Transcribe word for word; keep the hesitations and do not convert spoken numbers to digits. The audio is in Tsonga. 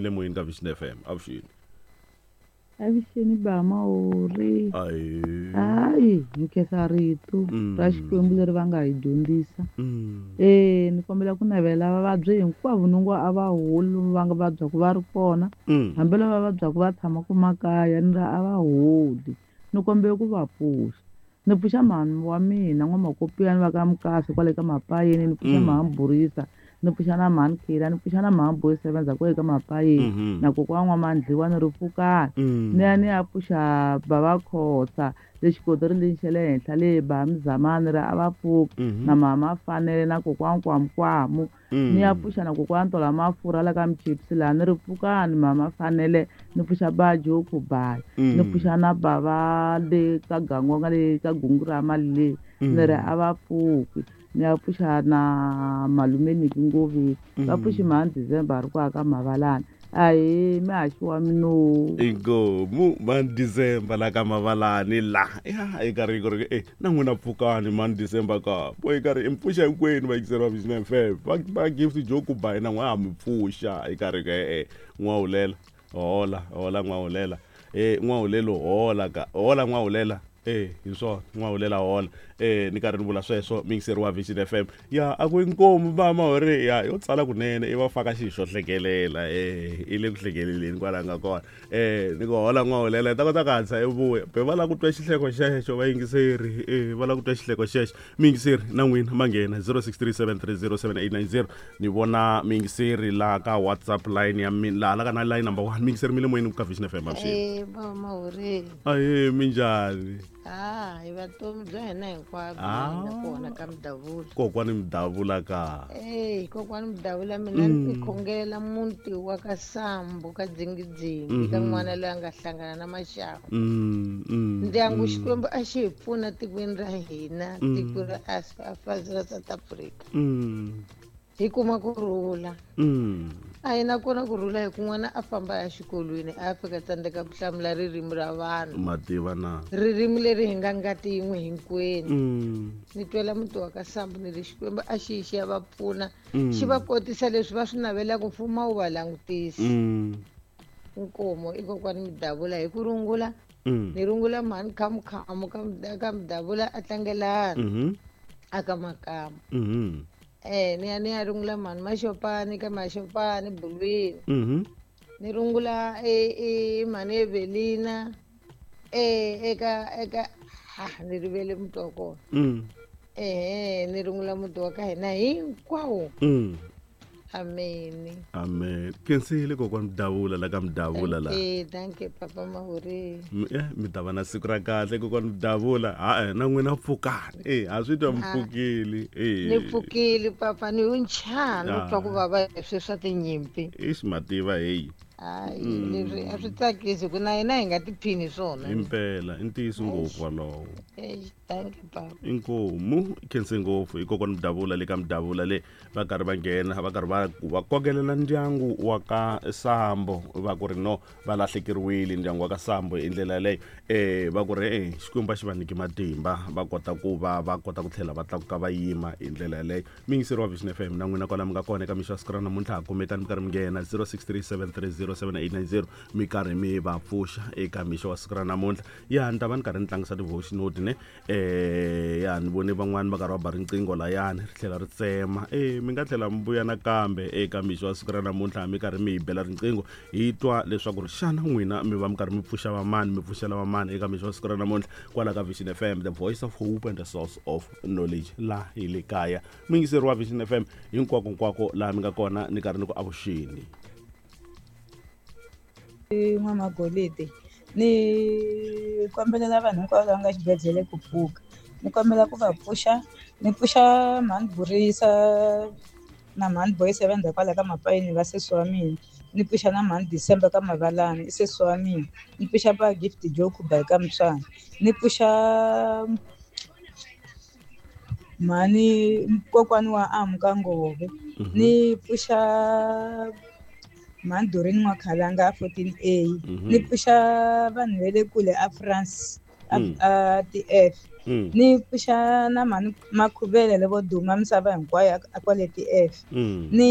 Mi le moyeni ka Vision F M. Avuxeni. Avuxeni ba Mahori. Ayi. Hayi, hi khensa rito Mm. ra Xikwembu leri va nga hi dyondzisa. Mm. Eh, ni kombela ku navela vavabyi hinkwavo ni ngo a va holi va nga vabyaku va ri kona. Mm. Hambi lava vabyaku va tshamaka makaya ni ri a va holi. Ni kombela ku va pfuxa. Ni pfuxa mhani wa mina n'wamakopiyani va ka Mukasi kwale ka Mapayeni, ni pfuxa Mm. mhani Burisa, ni pfuxa na mhani Khila, ni pfuxa na mhani Boy Sevenza kwale ka Mapayeni. Mhm. Na kokwana wa N'wamandliwa ni ri pfukani. Mm. Ni ya ni ya pfuxa bava Khosa le xikotori lexi xa le henhla le ba Mzamani ri a va pfuki. Mhm. Na mama Fanele na kokwana Kwamukwamu. Mm. Ni ya pfuxa na kokwana Tola Mafurha la ka Mchipsi laha ni ri pfukani mama Fanele, ni pfuxa ba Joku Bayi. Mm. Ni pfuxa na bava le ka Gangonga le ka Gungu ra mali le. Ni ri Mm. a va pfuki. Ni ya pfuxa na malume Niki Ngoveni. Va Mm. pfuxi mhani December ri kwaka Mavalani. Ahee, mihaxi wa mino. Inkomu mhani December la ka Mavalani la. Ya, i karhi ku ri, eh, na n'wina pfukani mhani December ka. Bo i karhi i mi pfuxa hinkwenu vayingiseri va Vision F M. Va, va Gift Joku Bayi na n'we ha mi pfuxa. I karhi ku, eh, eh, n'wahulela. Hola, hola n'wahulela. Eh, n'wahulelo hola ka. Hola n'wahulela. Eh, hi swona, n'wahulela hola. Eh, ni karhi ni vula sweswo muyingiseri wa Vision F M. Ya, a ku inkomu ba Mahori, ya, yo tsala kunene i va faka xilo xo hlekelela. Eh, i le ku hlekeleleni kwala nga kona. Eh, ni ku hola n'wahulela, hi ta kota ku hatlisa i vuya. Be va lava ku twa xihleko xexo vayingiseri. Eh, va lava ku twa xihleko xexo. Muyingiseri na n'wina ma nghena zero six three seven three zero seven eight nine zero. Ni vona muyingiseri laha ka WhatsApp line ya mina, laha la ka na line number one. Muyingiseri mi le moyeni ka Vision F M, avuxeni. Eh, ba Mahori. Ahee, minjhani? Ah, hi vutomi bya hina hinkwabyo Ah. hi nga kona ka Mudavula. Kokwani Mudavula ka. Eh, kokwani Mudavula mina Mm. ni khongelela muti wa ka Sambu ka Dzingidzingi ka Mhm. n'wana loyi a nga hlangana na maxangu. Mm, mm, Ndyangu mm. Xikwembu a xi hi pfuna tikweni ra hina, Mm. tiko ra As-, ra South Africa. Mm. Hi kuma kurhula. Mm. A hi na kona kurhula hi ku n'wana a famba ya xikolweni a fika tsandzeka ku hlamula ririmi ra vanhu. Mativa na. Ririmi leri hi nga ngati yin'we hinkwenu. Mm. Ni twela muti wa ka Sambu ni ri Xikwembu a xi yi xi ya va pfuna. Mm. Xi va kotisa leswi va swi navelaka, mfumo wu va langutisi. Mm. Inkomo i kokwani Mudavula hi ku rungula. Mm. Ni rungula mhani Khamukhamu ka Muda-, ka Mudavula a tlangelana. Mm-hmm. A ka Makamba. Mm-hmm. Eh, ni ya ni ya rungula mhani Maxopani ka Maxopani Bulwini. Mm-hmm. Ni rungula e, e mhani Evelina, e, eka, eka, ha, ni rivele muti wa kona. Mm. Eh, ni rungula muti wa ka hina hinkwawo. Mm. Amen. Amen. Khensile kokwani Mudavula la ka Mudavula la. Thank you, thank you Papa Mahori. M-, eh, mi ta va na siku ra kahle kokwani Mudavula. Ha-e, na n'wina pfukani. Eh, a swi twa mi Ah. pfukile. Eh. Ni pfukile papa, ni unchana, Ah. u twa ku vava hi sweswi swa tinyimpi. Ixi mativa heyi. Hayi, Mm. leswi a swi tsakisi ku na hina hi nga tiphini swona. Impela, i ntiyiso ngopfu walowo. Eish, thank you papa. Inkomu, khense ngopfu hi kokwani Mudavula le ka Mudavula le va karhi va nghena, va karhi va ku va kokelela ndyangu wa ka Sambo, va ku ri no va lahlekeriwile ndyangu wa ka Sambo hi ndlela yaleyo. Eh, va ku ri, eh, Xikwembu a xi va nyiki matimba, va kota ku va va kota ku tlhela va tlakuka va yima hi ndlela yaleyo. Muyingiseri wa Vision F M na n'wina kwala mi nga kona eka mixo ya siku ra namuntlha, ha kumekani mi karhi mi nghena zero six three seven three zero seven eight nine zero, mi karhi mi va pfuxa eka mixo wa siku ra namuntlha. Ya, ni ta va ni karhi ni tlangisa ti-voice note ne. Eh, ya, ni vone van'wani va karhi va ba riqingho layani ri tlhela ri tsema. Eh, mi nga tlhela mi vuya nakambe eka mixo wa siku ra namuntlha mi karhi mi hi bela riqingho, hi twa leswaku ri xana n'wina mi va mi karhi mi pfuxa vamani, mi pfuxela vamani eka mixo wa siku ra namuntlha kwala ka Vision F M, the voice of hope and the source of knowledge, la hi le kaya. Muyingiseri wa Vision F M hinkwako hinkwako laha mi nga kona, ni karhi ni ku avuxeni. N'wamagolide, ni kombelela vanhu hinkwavo lava nga xibedhlele ku pfuka. Ni kombela ku va pfuxa, ni pfuxa mhani Burisa na mhani Boy Seven kwala ka Mapayini va sesi wa mina. Ni pfuxa na mhani December ka Mavalani i sesi wa mina. Ni pfuxa ba Gift Joku ba ka Mtswana. Ni pfuxa mhani kokwani wa Amu ka Ngove. Mhm. Ni pfuxa mhani Doreen N'wakhalanga a fourteen A. Mhm. Ni pfuxa vanhu va le kule a France, a, Mm. a T F. Mm. Ni pfuxa na mhani Makhuvele levo duma misava hinkwayo a, a kwale T F. Mm. Ni